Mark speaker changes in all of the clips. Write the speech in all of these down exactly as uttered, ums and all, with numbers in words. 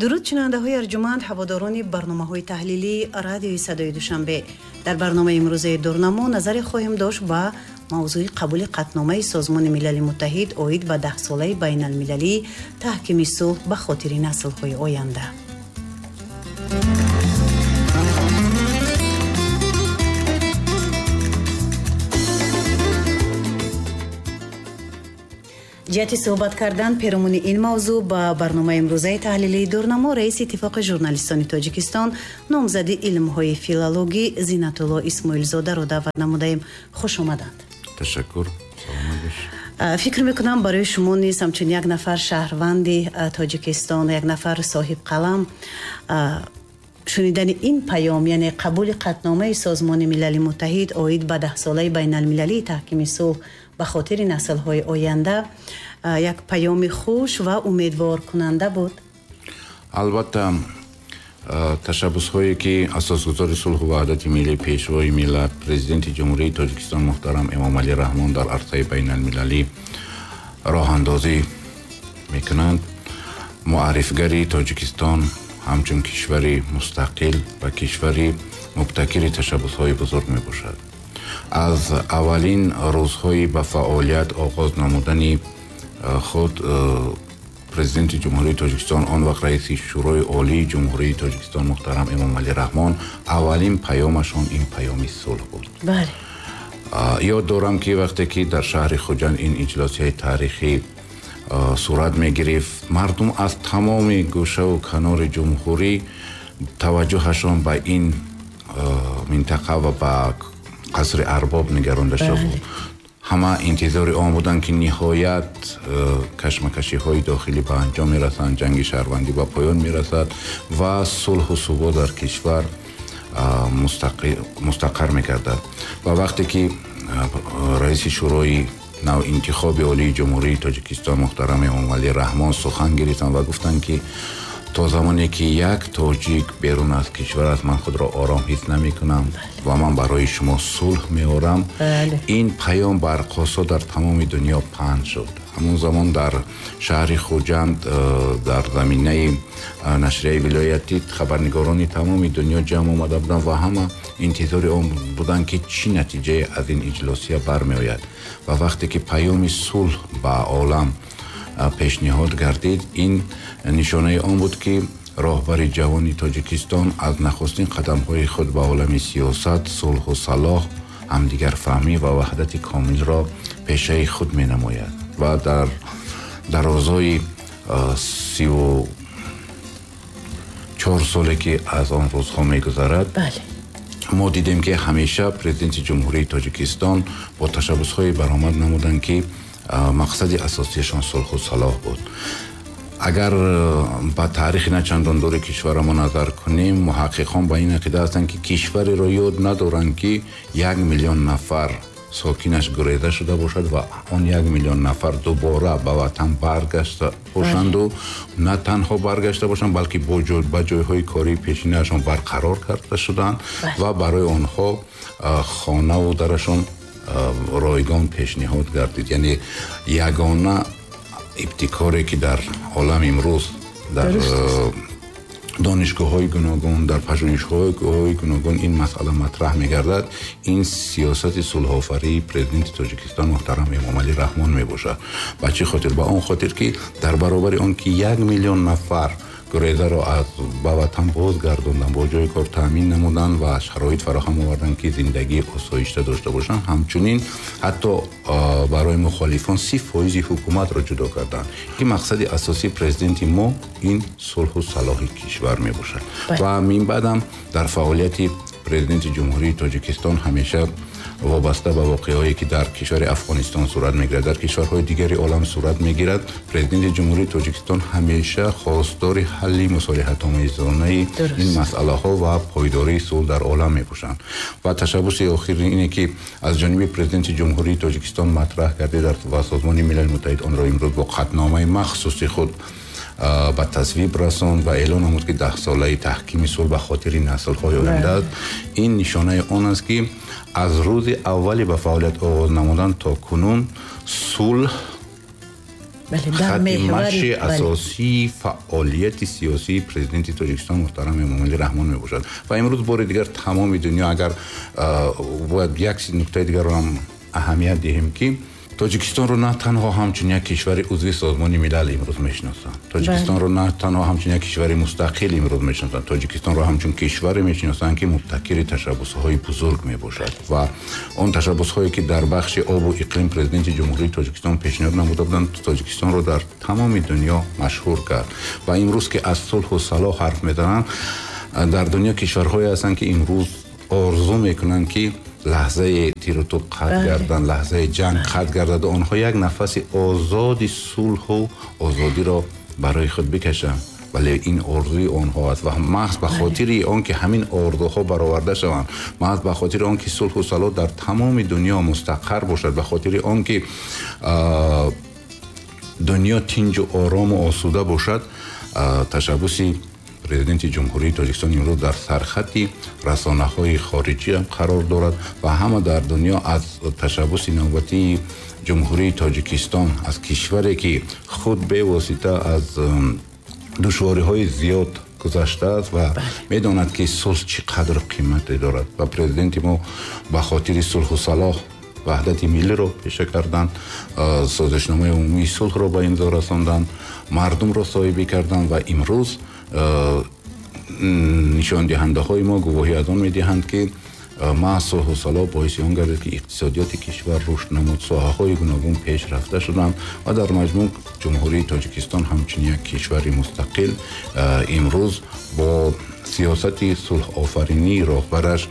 Speaker 1: Дуруд шунавандаҳои арҷуманд, ҳаводорони барномаҳои таҳлилии радиои садои Душанбе. Дар барномаи имрӯзаи Дурнамо назаре хоҳем дошт ба мавзӯи қабули қатъномаи Созмони Милали Муттаҳид оид ба даҳсолаи байналмилалии таҳкими сулҳ ба хотири наслҳои оянда. Ҷиҳати суҳбат кардан перомуни ин мавзӯъ ба барномаи имрӯзаи таҳлилии Дурнамо раиси Иттифоқи журналистони Тоҷикистон, номзади илмҳои филологӣ Зинатулло Исмоилзодаро даъват намудаем. Хуш омаданд.
Speaker 2: Ташаккур. Саломат бош.
Speaker 1: Фикр мекунам барои шумо низ ҳамчун як нафар шаҳрванди Тоҷикистон, як нафар соҳибқалам, шунидани ин паём, яъне қабули қатъномаи Созмони Милали Муттаҳид оид ба даҳсолаи байналмилалии таҳкими сулҳ ба хотири наслҳои оянда, як паёми хуш ва умедворкунанда буд.
Speaker 2: Албатта, ташаббусҳое ки асосгузори сулҳу ваҳдати миллӣ, пешвои миллат, президенти Ҷумҳурии Тоҷикистон муҳтарам Эмомалӣ Раҳмон дар арсаи байналмилалӣ роҳандозӣ мекунанд, муаррифгари Тоҷикистон ҳамчун кишвари мустақил ва кишвари мубтакири ташаббусҳои бузург мебошад. Аз аввалин рӯзҳои ба фаъолият оғоз намудани худ президенти Ҷумҳурии Тоҷикистон, он вақт раиси Шӯрои Олии Ҷумҳурии Тоҷикистон муҳтарам Эмомалӣ Раҳмон, аввалин паёмашон ин паёми сулҳ буд.
Speaker 1: Бале.
Speaker 2: Ёд дорам ки вақте ки дар шаҳри Хуҷанд ин иҷлосияи таърихӣ сурат мегирифт, мардум аз тамоми гӯшаву канори ҷумҳурӣ таваҷҷӯҳашон ба ин минтақа ва ба қасри арбоб нигаронда шуд. Ҳама интизори он буданд ки ниҳоят кашмакашиҳои дохилӣ ба анҷом мерасанд, ҷанги шаҳрвандӣ ба поён мерасад ва сулҳу субот дар кишвар мустақар мегардад. Ва вақте ки раиси Шӯрои навинтихоби Олии Ҷумҳурии Тоҷикистон муҳтарам Эмомалӣ Раҳмон сухан гирифтанд ва гуфтанд ки то замоне ки як тоҷик берун аз кишвар аст, ман худро ором ҳис намекунам ва ман барои шумо сулҳ меорам. Ин паём барқосо дар тамоми дунё паҳн шуд. Ҳамон замон дар шаҳри Хуҷанд дар заминаи нашрияи вилоятӣ хабарнигорони тамоми дунё ҷамъ омада буданд ва ҳама интизори он буданд ки чӣ натиҷае аз ин иҷлосия бармеояд. Ва вақте ки паёми сулҳ ба олам пешниҳод гардид, ин нишонаи он буд ки роҳбари ҷавони Тоҷикистон аз нахустин қадамҳои худ ба олами сиёсат, сулҳу салоҳ, ҳамдигарфаҳмӣ ва ваҳдати комилро пешаи худ менамояд ва дар дарозои сиву чор соле ки аз он рӯзҳо мегузарад, мо дидем ки ҳамеша президенти Ҷумҳурии Тоҷикистон бо ташаббусҳое баромад намуданд ки мақсади асосиашон сулҳу салоҳ буд. Агар ба таърихи начандон дури кишварамон назар кунем, муҳаққиқон ба ин ақида ҳастанд ки кишвареро ёд надоранд ки як миллион нафар сокинаш гуреза шуда бошад ва он як миллион нафар дубора ба ватан баргашта бошанду на танҳо баргашта бошанд, балки ба ҷойҳои кории пешинаашон барқарор карда шуданд ва барои онҳо хонаву дарашон ройгон пешниҳод гардид. Яъне ягона ибтикоре ки дар олам имрӯз дар донишгоҳҳои гуногун, дар пажӯҳишгоҳҳои гуногун ин масъала матраҳ мегардад, ин сиёсати сулҳофарии президенти Тоҷикистон муҳтарам Эмомалӣ Раҳмон мебошад. Ба чӣ хотир? Ба он хотир ки дар баробари он ки як миллион нафар гурезаро аз ба ватан бозгардонданд, бо ҷои кор таъмин намуданд ва шароит фароҳам оварданд ки зиндагии осоишта дошта бошанд, ҳамчунин ҳатто барои мухолифон си фоизи ҳукуматро ҷудо карданд ки мақсади асосии президенти мо ин сулҳу салоҳи кишвар мебошад. Ва минбаъдам дар фаъолияти президенти Ҷумҳурии Тоҷикистон ҳамеша вобаста ба воқеаҳое ки дар кишвари Афғонистон сурат мегирад, дар кишварҳои дигари олам сурат мегирад, президенти Ҷумҳурии Тоҷикистон ҳамеша хостори ҳалли мусолиҳатомезонаи ин масъалаҳо ва пойдории сулҳ дар олам мебошанд. Ва ташаббуси охири ине ки аз ҷониби президенти Ҷумҳурии Тоҷикистон матраҳ гардид ва Созмони Милали Муттаҳид онро имрӯз бо қатъномаи махсуси худ ба тасвиб расонд ва эълон намуд ки даҳсолаи таҳкими сулҳ ба хотири наслҳои оянда аст. Ин нишонаи он аст ки аз рӯзи аввали ба фаъолият оғоз намудан то кунун сулҳ Хатти маши асосии фаъолияти сиёсии президенти Тоҷикистон муҳтарам Эмомалӣ Раҳмон мебошад. Ва имрӯз бори дигар тамоми дунё, агар бояд як нуктаи дигарро ҳам аҳамият диҳем, ки Тоҷикистонро на танҳо ҳамчун як кишвари узви Созмони Милал имрӯз мешиносанд, Тоҷикистонро на танҳо ҳамчун як кишвари мустақил имрӯз мешиносанд, Тоҷикистонро ҳамчун кишваре мешиносанд, ки мубтакири ташаббусҳои бузург мебошад ва он ташаббусҳое, ки дар бахши обу иқлим президенти Ҷумҳурии Тоҷикистон пешниҳод намуда буданд, Тоҷикистонро дар тамоми дунё машҳур кард. Ва имрӯз ки аз сулҳу салоҳ ҳарф мезананд, дар дунё кишварҳое ҳастанд, ки имрӯз орзу мекунанд, ки лаҳзаи тиру топ қатъ гарданд, лаҳзаи ҷанг қатъ гардад, онҳо як нафаси озоди сулҳу озодиро барои худ бикашанд. Вале ин орзуи онҳо аст ва маҳз ба хотири он ки ҳамин орзуҳо бароварда шаванд, маҳз ба хотири он ки сулҳу салоҳ дар тамоми дунё мустақар бошад, ба хотири он ки дунё тинҷу орому осуда бошад, ташаббуси президенти Ҷумҳурии Тоҷикистон имрӯз дар сархати расонаҳои хориҷӣ ҳам қарор дорад ва ҳама дар дунё аз ташаббуси навбатии Ҷумҳурии Тоҷикистон, аз кишваре ки худ бевосита аз душвориҳои зиёд гузаштааст ва медонад, ки сулҳ чӣ қадр қимате дорад. Ва президенти мо ба хотири сулҳу салоҳ ваҳдати миллиро пеша карданд, созишномаи умумии сулҳро ба имзо расонданд, мардумро соҳибӣ карданд ва имрӯз нишондиҳандаҳои мо гувоҳӣ аз он медиҳанд, ки маҳз сулҳу салоҳ боиси он гардид, ки иқтисодиёти кишвар рушд намуд, соҳаҳои гуногун пеш рафта шуданд ва дар маҷмӯъ Ҷумҳурии Тоҷикистон ҳамчун як кишвари мустақил имрӯз бо сиёсати сулҳофаринии роҳбараш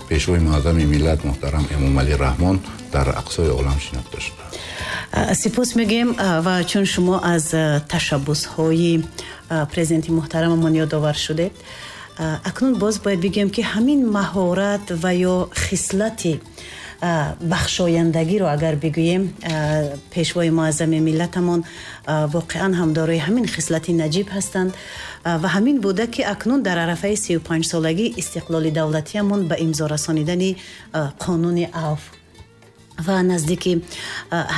Speaker 2: Пешвои муаззами миллат муҳтарам Эмомалӣ Раҳмон дар ақсои олам шинохта шудааст.
Speaker 1: Сипос мегӯем ва чун шумо аз ташаббусҳои президенти муҳтарамамон ёдовар шудед, акнун боз бояд бигӯем, ки ҳамин маҳорат ва ё хислати бахшояндагиро агар бигӯем, пешвои муаззами миллатамон воқеан ҳам дорои ҳамин хислати наҷиб ҳастанд ва ҳамин буда, ки акнун дар арафаи сию панҷсолагии истиқлоли давлатиамон ба имзо расонидани қонуни авф ва наздики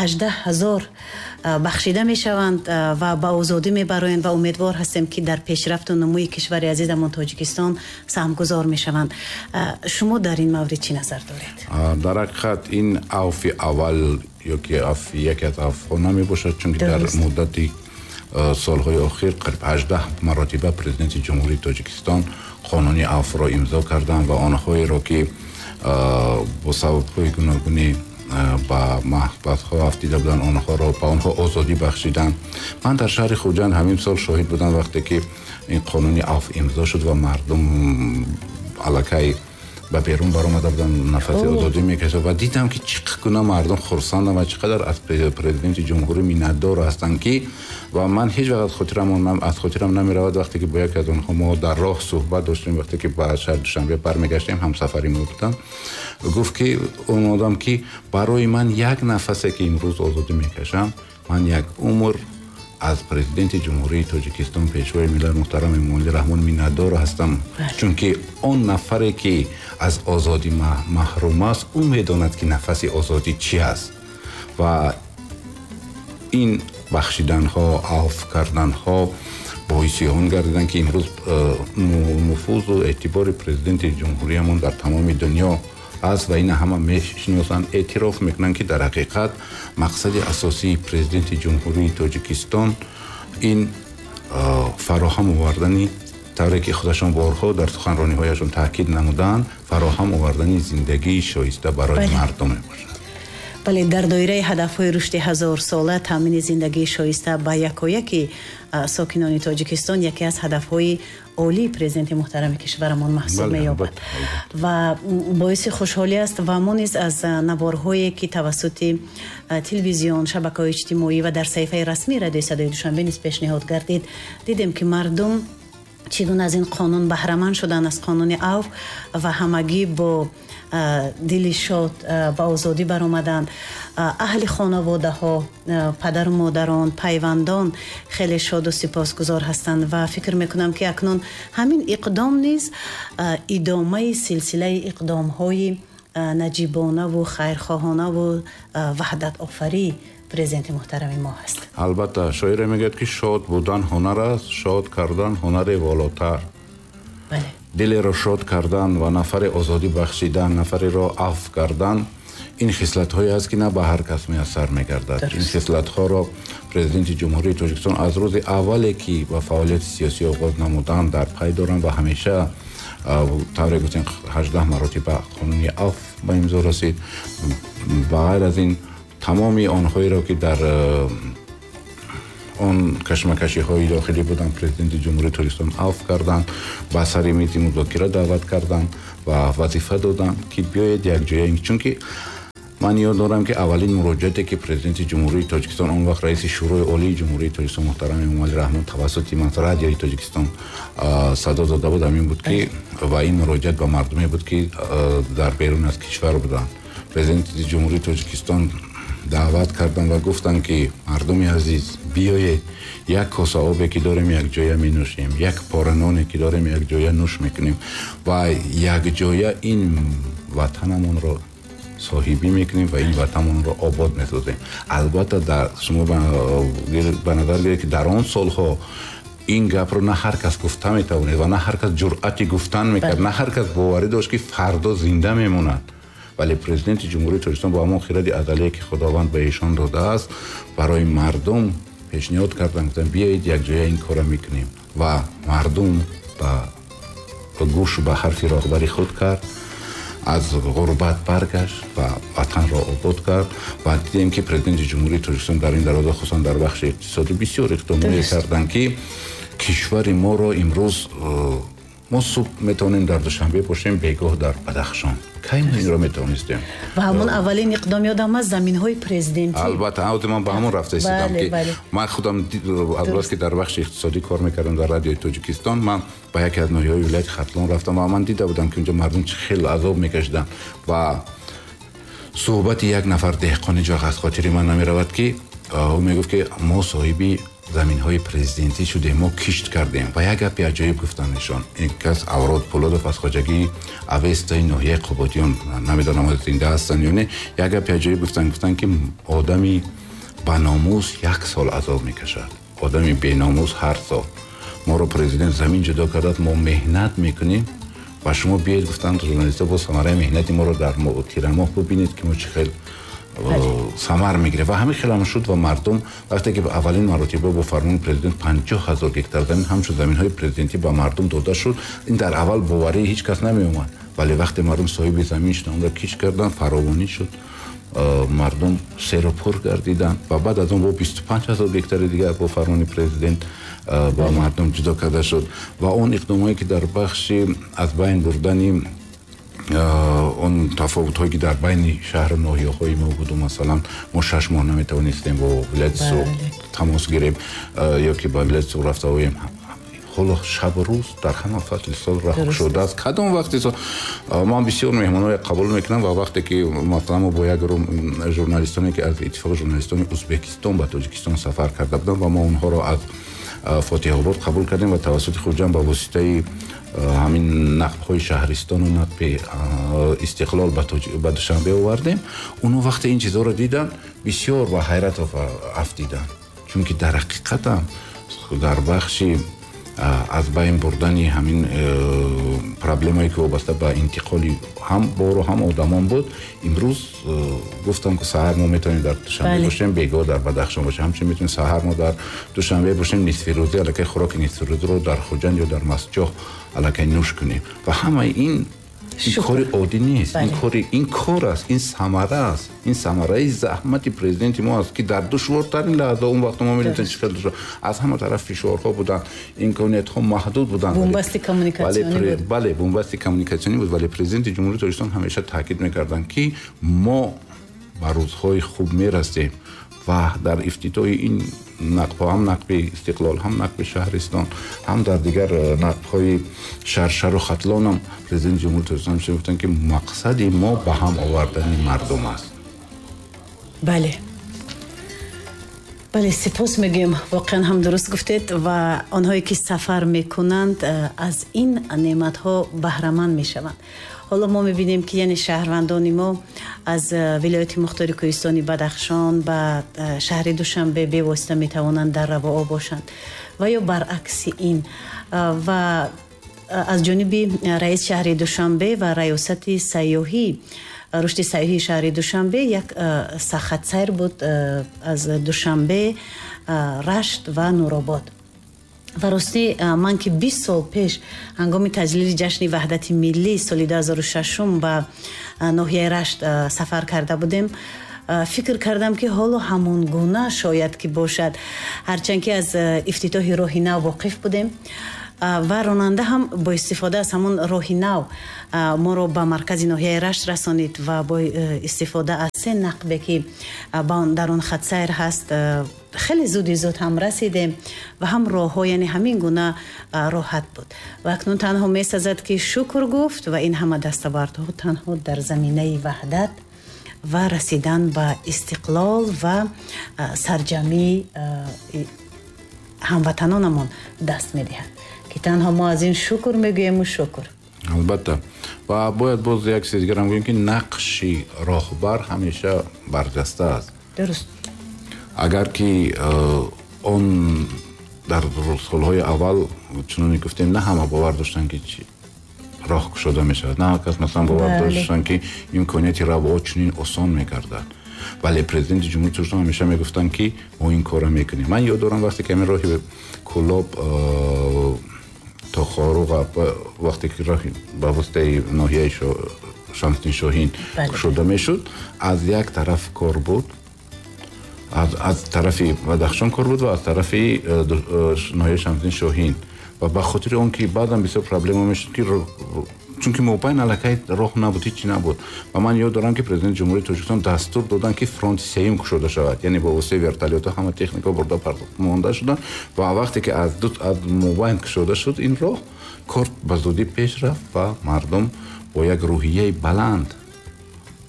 Speaker 1: ҳаждаҳ ҳазор бахшида мешаванд ва ба озодӣ мебароянд ва умедвор ҳастем, ки дар пешрафту нумӯи кишвари азизамон Тоҷикистон саҳмгузор мешаванд. Шумо дар ин маврид чӣ назар доред?
Speaker 2: Дар ҳақиқат ин авфи аввал ё ки авфи яке аз авфҳо намебошад, чунки дар муддати солҳои охир қариб ҳаждаҳ маротиба президенти Ҷумҳурии Тоҷикистон қонуни авфро имзо карданд ва онҳоеро, ки бо сабабҳои гуногуни ба маҳбасҳо афтида буданд, онҳоро ба онҳо озодӣ бахшиданд. Ман дар шаҳри Хуҷанд ҳамин сол шоҳид будам, вақте ки ин қонуни авф имзо шуд ва мардум аллакай ба берун баромада буданд, нафаси озодӣ мекашид ва дидам, ки чӣ гуна мардум хурсанданд ва чӣ қадар аз президенти ҷумҳурӣ миннатдор ҳастанд, ки ва ман ҳеҷ вақт хотирам аз хотирам намеравад, вақте ки бо яке аз онҳо мо дар роҳ суҳбат доштем, вақте ки ба шаҳри Душанбе бармегаштем, ҳамсафари мо буданд, гуфт ки он одам, ки барои ман як нафасе ки имрӯз озодӣ мекашам, ман як умр аз президенти Ҷумҳурии Тоҷикистон Пешвои миллат муҳтарам Эмомалӣ Раҳмон миннатдор ҳастам, чунки он нафаре ки аз озодӣ маҳрум аст, ӯ медонад, ки нафаси озодӣ чӣ аст. Ва ин бахшиданҳо, авф карданҳо боиси он гардиданд, ки имрӯз нуфузу эътибори президенти ҷумҳуриямон дар тамоми дунё аст ва ина ҳама мешиносанд, эътироф мекунанд, ки дар ҳақиқат мақсади асосии президенти Ҷумҳурии Тоҷикистон ин фароҳам овардани, тавре ки худашон борҳо дар суханрониҳояшон таъкид намуданд, фароҳам овардани зиндагии шоиста барои мардум мебошад.
Speaker 1: Бале, дар доираи ҳадафҳои рушди ҳазорсола таъмини зиндагии шоиста ба якояки сокинони Тоҷикистон яке аз ҳадафҳои олии президенти муҳтарами кишварамон маҳсуб меёбад ва боиси хушҳолӣ аст. Ва мо низ аз наворҳое, ки тавассути телевизион, шабакаҳои иҷтимоӣ ва дар саҳифаи расмии Радиои Садои Душанбе низ пешниҳод гардид, дидем, ки мардум чӣ гуна аз ин қонун баҳраманд шуданд, аз қонуни авф, ва ҳамагӣ бо дили шод ба озодӣ баромаданд. Аҳли хонаводаҳо, падару модарон, пайвандон хеле шоду сипосгузор ҳастанд ва фикр мекунам, ки акнун ҳамин иқдом низ идомаи силсилаи иқдомҳои наҷибонаву хайрхоҳонаву ваҳдатофарӣ президенти муҳтарами мо ҳаст.
Speaker 2: Албатта, шоире мегӯяд, ки шод будан ҳунар аст, шод кардан ҳунари волотар.
Speaker 1: Бале.
Speaker 2: Дилеро шод кардан ва нафаре озодӣ бахшидан, нафареро афв кардан, ин хислатҳое аст, ки на ба ҳар кас муяссар мегардад. Ин хислатҳоро президенти Ҷумҳурии Тоҷикистон аз рӯзи аввале, ки ба фаъолияти сиёсӣ оғоз намуданд, дар пай доранд ва ҳамеша, тавре гуфтем, ҳаждаҳ маротиба қонуни афв ба имзо расид. Ба ғайр аз ин, тамоми онҳоеро, ки дар он кашмакашиҳои дохилӣ буданд, президенти Ҷумҳурии Тоҷикистон афв карданд, ба сари мизи музокира даъват карданд ва вазифа доданд, ки биёед якҷоя. Чунки ман ёд дорам, ки аввалин муроҷиате, ки президенти Ҷумҳурии Тоҷикистон, он вақт раиси Шӯрои Олии Ҷумҳурии Тоҷикистон муҳтарам Эмомалӣ Раҳмон, тавассути радиои Тоҷикистон садо дода буд, ҳамин буд, ки ва ин муроҷиат ба мардуме буд, ки дар берун аз кишвар буданд. Президенти Ҷумҳурии Тоҷикистон даъват карданд ва гуфтанд, ки мардуми азиз, биёед, як коса обе, ки дорем, якҷоя менӯшем, як пора ноне, ки дорем, якҷоя нӯш мекунем ва якҷоя ин ватанамонро соҳибӣ мекунем ва ин ватанамонро обод месозем. Албатта, дар шумо ба назар гиред, ки дар он солҳо ин гапро на ҳар кас гуфта метавонед ва на ҳар кас ҷуръати гуфтан мекард, на ҳар кас боварӣ дошт, ки фардо зинда мемонад. Вале президенти Ҷумҳурии Тоҷикистон бо ҳамон хиради азалие, ки Худованд ба эшон додааст, барои мардум пешниҳод карданд, гуфтанд, биёед, якҷоя ин корро мекунем. Ва мардум ба гӯш ба ҳарфи роҳбари худ кард, аз ғурбат баргашт ва ватанро обод кард. Ва дидем, ки президенти Ҷумҳурии Тоҷикистон дар ин дароза, хусусан дар бахши иқтисодӣ, бисёр иқдомҳое карданд, ки кишвари моро имрӯз мо субҳ метавонем дар Душанбе бошем, бегоҳ дар Бадахшон. Кай мо инро метавонистем?
Speaker 1: Ва ҳамон аввалин иқдом ёдам аст, заминҳои президентӣ.
Speaker 2: Албатта, ҳозир ман ба ҳамон рафта истодам, ки ман худам аз бас ки дар бахши иқтисодӣ кор мекардам дар радиои Тоҷикистон, ман ба яке аз ноҳияҳои вилояти Хатлон рафтам ва ман дида будам, ки унҷо мардум чӣ хеле азоб мекашиданд. Ва суҳбати як нафар деҳқон ҳеҷ вақт аз хотири ман намеравад, ки ӯ мегуфт, ки мо соҳиби заминҳои президентӣ шудем, мо кишт кардем. Ва як гапи аҷоиб гуфтанд нишон. Ин кас Аврод Пулодов аз хоҷагии Авестаи ноҳияи Қубодиён, намедонам зинда ҳастанд ё не, як гапи аҷоиб гуфтанд, гуфтанд, ки одами баномус як сол азоб мекашад, одами беномус ҳар сол. Моро президент замин ҷудо кардааст, мо меҳнат мекунем ва шумо биёед, гуфтанд журналистҳо, бо самараи меҳнати моро дар тирамоҳ бибинед, ки мо чӣ хел самар мегирад. Ва ҳамин хел ҳам шуд ва мардум вақте ки аввалин маротиба бо фармони президент панҷоҳ ҳазор гектар замин ҳамчун заминҳои президентӣ ба мардум дода шуд, ин дар аввал боварии ҳеҷ кас намеомад. Вале вақте мардум соҳиби замин шуданд, онро кишт карданд, фаровонӣ шуд, мардум серу пур гардиданд ва баъд аз он бо бисту панҷ ҳазор гектари дигар бо фармони президент ба мардум ҷудо карда шуд. Ва он иқдомҳое, ки дар бахши аз байн бурдани он тафовутҳое, ки дар байни шаҳру ноҳияҳои мо буду, масалан, мо шаш моҳ наметавонистем бо вилояти Суғд тамос гирем ё ки ба вилояти Суғд рафта оем, ҳоло шабу рӯз дар ҳама фасли сол раҳ шудааст. Кадом вақти сол ман бисёр меҳмонҳое қабул мекунам ва вақте ки масалан мо бо як гурӯҳ журналистоне, ки аз Иттифоқи журналистони Ӯзбекистон ба Тоҷикистон сафар карда буданд ва мо онҳоро аз Фотиҳобод қабул кардем ва тавассути Хуҷанд ба воситаи ҳамин нақбҳои шаҳристону нақби Истиқлол ба Душанбе овардем, онҳо вақте ин чизҳоро диданд, бисёр ба ҳайрат афтиданд, чунки дар ҳақиқатам дар бахши аз байн бурдани ҳамин проблемае, ки вобаста ба интиқоли ҳам бору ҳам одамон буд, имрӯз гуфтам, ки саҳар мо метавонем дар Душанбе бошем, бегоҳ дар Бадахшон бошем, ҳамчунин метавонем саҳар мо дар Душанбе бошем, нисфирӯзӣ аллакай хӯроки нисфирӯзиро дар Хуҷанд ё дар Мастчоҳ аллакай нӯш кунем. Ва ҳамаи ин ин кори оддӣ нест, ин кори ин кор аст, ин самара аст, ин самараи заҳмати президенти мо аст, ки дар душвортарин лаҳза, он вақт мо медонем чӣ хел душвор, аз ҳама тараф фишорҳо буданд, имкониятҳо маҳдуд буданд,
Speaker 1: бунбасти коммуникатсионӣ буд.
Speaker 2: Бале, бунбасти коммуникатсионӣ буд, вале президенти Ҷумҳурии Тоҷикистон ҳамеша таъкид мекарданд, ки мо ба рӯзҳои хуб мерасем ва дар ифтитоҳи ин нақбҳо, ҳам нақби Истиқлол, ҳам нақби Шаҳристон, ҳам дар дигар нақбҳои Шаршару Хатлон ҳам президенти Ҷумҳурии Тоҷикистон ҳамеша гуфтанд, ки мақсади мо ба ҳам овардани мардум аст.
Speaker 1: Бале, бале, сипос мегӯем, воқеан ҳам дуруст гуфтед ва онҳое, ки сафар мекунанд, аз ин неъматҳо баҳраманд мешаванд. Ҳоло мо мебинем, ки яъне шаҳрвандони мо аз вилояти мухтори кӯҳистони Бадахшон ба шаҳри Душанбе бевосита метавонанд дар равоо бошанд ва ё баръакси ин. Ва аз ҷониби раис шаҳри Душанбе ва раёсати сайёҳӣ, рушди сайёҳии шаҳри Душанбе як хатсайр буд аз Душанбе, Рашт ва Нуробод. Ва ростӣ, ман ки бист сол пеш ҳангоми таҷлили ҷашни ваҳдати миллӣ соли дуҳазору шашум ба ноҳияи Рашт сафар карда будем, фикр кардам, ки ҳоло ҳамон гуна шояд ки бошад, ҳарчанд ки аз ифтитоҳи роҳи нав воқиф будем. Ва ронанда ҳам бо истифода аз ҳамон роҳи нав моро ба маркази ноҳияи Рашт расонид ва бо истифода аз се нақбе, ки дар он хатсайр ҳаст, хеле зуди зуд ҳам расидем ва ҳам роҳҳо яъне ҳамин гуна роҳат буд. Ва акнун танҳо месазад, ки шукр гуфт, ва ин ҳама дастовардҳо танҳо дар заминаи ваҳдат ва расидан ба истиқлол ва сарҷамъии ҳамватанонамон даст медиҳад, ки танҳо мо аз ин шукр мегӯему шукр.
Speaker 2: Албатта, ва бояд боз як чиз дигарам гӯем, ки нақши роҳбар ҳамеша барҷаста аст.
Speaker 1: Дуруст.
Speaker 2: Агар ки он дар солҳои аввал, чуноне гуфтем, на ҳама бовар доштанд, ки роҳ кушода мешавад, на ҳама кас масалан бовар доштанд, ки имконияти равоо чунин осон мегардад, вале президенти Ҷумҳурии Тоҷикистон ҳамеша мегуфтанд, ки мо ин корро мекунем. Ман ёд дорам, вақте ки ҳамин роҳи Кӯлоб то Хоруғ, вақте ки роҳи ба воситаи ноҳияи Шамсиддин Шоҳин кушода мешуд, аз як тараф кор буд, аз, аз тарафи Бадахшон кор буд ва аз тарафи ноҳияи Шамсиддин Шоҳин. Ва ба хотири он ки баъдан бисёр проблема мешуд, ки чунки мобайн аллакай роҳ набуд, ҳичи набуд. Ва ман ёд дорам, ки президенти Ҷумҳурии Тоҷикистон дастур доданд, ки фронти сеюм кушода шавад, яъне бо воситаи вертолётҳо ҳама техника бурда монда шуданд. Ва вақте ки аз аз мобайн кушода шуд ин роҳ, кор ба зудӣ пеш рафт ва мардум бо як рӯҳияи баланд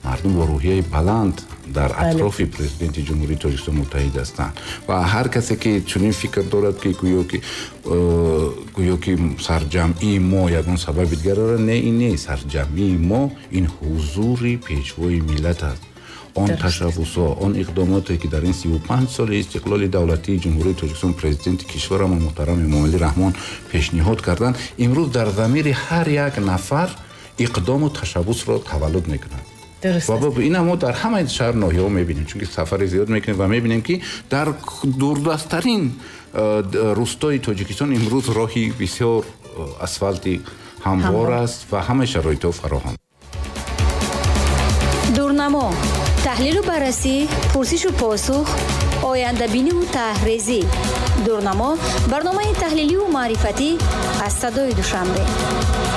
Speaker 2: мардум бо рӯҳияи баланд дар атрофи президенти Ҷумҳурии Тоҷикистон муттаҳид ҳастанд. Ва ҳар касе ки чунин фикр дорад, ки гӯё ки гӯё ки сарҷамъии мо ягон сабаби дигар дорад, не, ин не. Сарҷамъии мо ин ҳузури пешвои миллат аст, он ташаббусҳо, он иқдомоте, ки дар ин сиву панҷ соли истиқлоли давлатии Ҷумҳурии Тоҷикистон президенти кишварамон муҳтарам Эмомалӣ Раҳмон пешниҳод карданд, имрӯз дар замири ҳар як нафар иқдому ташаббусро таваллуд мекунанд. Ва ина мо дар ҳамаи шаҳр ноҳияҳо мебинем, чунки сафари зиёд мекунем ва мебинем, ки дар дурдасттарин рустои Тоҷикистон имрӯз роҳи бисёр асфалти ҳамвор аст ва ҳамаи шароитҳо фароҳам.
Speaker 3: Дурнамо: таҳлилу баррасӣ, пурсишу посух, ояндабиниву таҳрезӣ. Дурнамо — барномаи таҳлиливу маърифатӣ аз Садои Душанбе.